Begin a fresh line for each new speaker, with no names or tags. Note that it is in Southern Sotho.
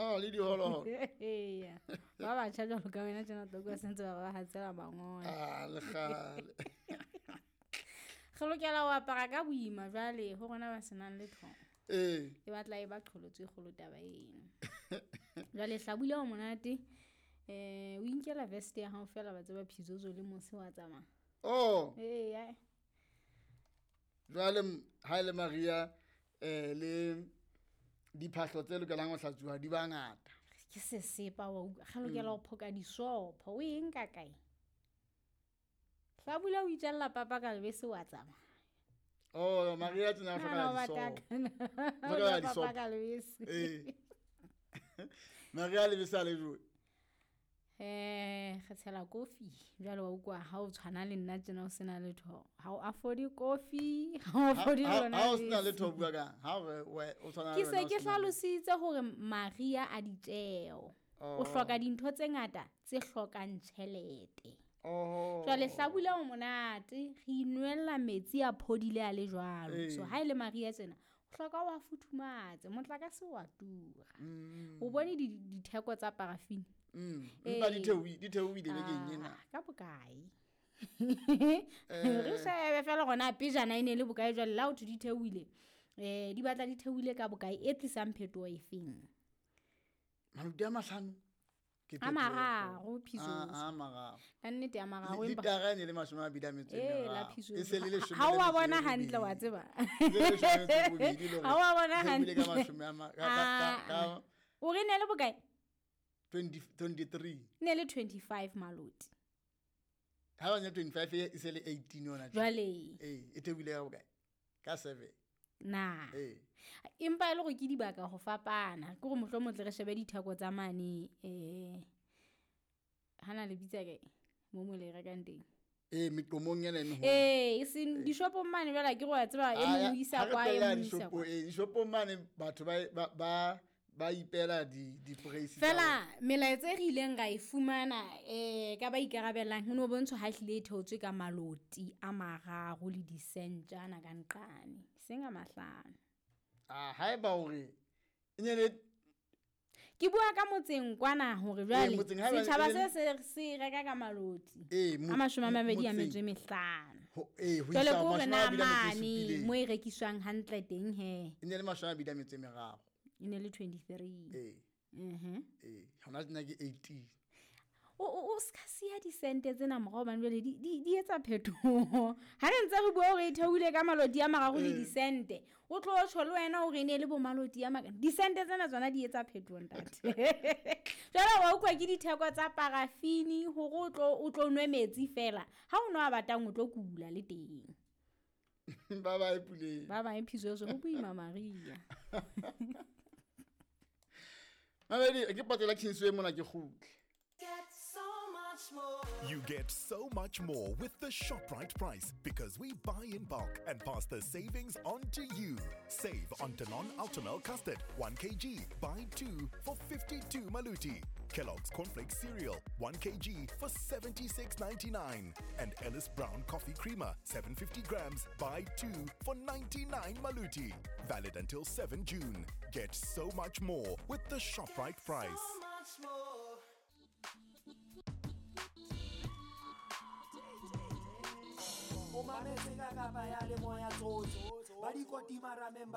Ha le diholoholo.
Eya, ba batjha jwalo ka wena tjena tlo kwa sentse ba ba hatsela mangole.
Ah, le kgale.
Re lokela ho apara ka boima jwale ho rona ba senang letho.
Ee.
E batla e ba qholotso e kgolo taba eno. Jwale hlabula o monate. O inkela vest ya hao fela ba tseba phizozo le mose wa tsamaya.
Oh.
Eya.
Jwale ha ile Maria le diphahlo tse lokelang ho hlatsuwa di ba ngata.
Ke sesepa wa utlwa. Re lokela ho phoka disopho. O e nka kae? Hlabula o itjalla papa ka lebese wa tsamaya.
Oh, Maria tsena hloka disopho.
Hloka disopho ka lebese.
Eh. Maria lebese a le jwe.
Re tshela kofi jwale wa utlwa ha o tshwana le nna tjena o sena letho. Ha o afford kofi, ha o afford lona.
Ha o sena letho bua ka ha o tshwana
le. Ke se ke hlalositse hore Maria a ditjeo. O hloka dintho tse ngata tse hlokang tjhelete.
Oh.
Jwale hlabula o monate, re inwella metsi a phodile a le jwalo. So ha ile Maria tsena, o hloka wa futhumatse, motlakase wa tura. O bone ditheko tsa parafini.
Empa di theohile bekeng ena.
Ka bokae? Re shebe fela gona pejana e ne le bokae jwale la ho di theohile. Di batla di theohile ka bokae e tlisang phetoho efeng?
Malodi a mahlano.
A mararo phiso.
A mararo.
Ka nnete a mararo
empa litara ne le 23. E se le 10.
Ha wa bona hantle wa tseba. Ha wa bona hantle.
Ka
o re ne le bokae?
23.
Ne le 25 maloti.
Ha ba ne 25 e se le 18 yona.
Jwale.
E theohile ka bokae? Ka 7.
Na. Empa e le gore ke dibaka go fapana. Ke gore mohlomong tle re shebe ditheko tsa mane hana le bitsa kae mo mo le rekang teng.
Meqomong ena e
e seng dishopong mane jwale ke go a tseba e mong isa kwa e mong isa kwa.
Dishopong mane batho ba ipela di price.
Fela melaetsa e re ileng ra e fumana ka ba ikarabellang ho no bontsho ha hlile e theotswe ka maloti a mararo le disentjana ka nqane seng a mahlano.
Ah, haeba hore e ne le
ke bua ka motseng kwana hore jwale setjhaba se reka ka maloti a 25.
Ho
jwale ko re na mane mo e rekiswang hantle teng he.
E ne le 23.
E ne le 23.
Hona nna ke 18.
O ska siya disente tsena morao bana jwale di etsa phetoho. Ha re ntse re bua hore e theohile ka maloti a mararo le disente. O tlo tjho le wena hore e ne le bo maloti a maka. Disente tsena tsona di etsa phetoho ntate. Jwale wa utlwa ke ditheko tsa parafini hore o tlo nwe metsi fela. Ha o nwa batang o tlo kula le teng.
Ba ba e puleng.
Ba ba e phiso ho boima Maria.
Mabedi ke patela Kingsway mona ke kgutle.
Get so much more.
You get so much more with the ShopRite price because we buy in bulk and pass the savings on to you. Save on Danone Ultimel Custard, 1 kg, buy 2 for 52 maluti. Kellogg's Cornflakes Cereal, 1 kg for 76.99. And Ellis Brown Coffee Creamer, 750 grams, buy 2 for 99 maluti. Valid until 7 June. Get so much more with the ShopRite price.
So much more.
O mametse ka kapa ya le moya tsotso ba dikotima rameng.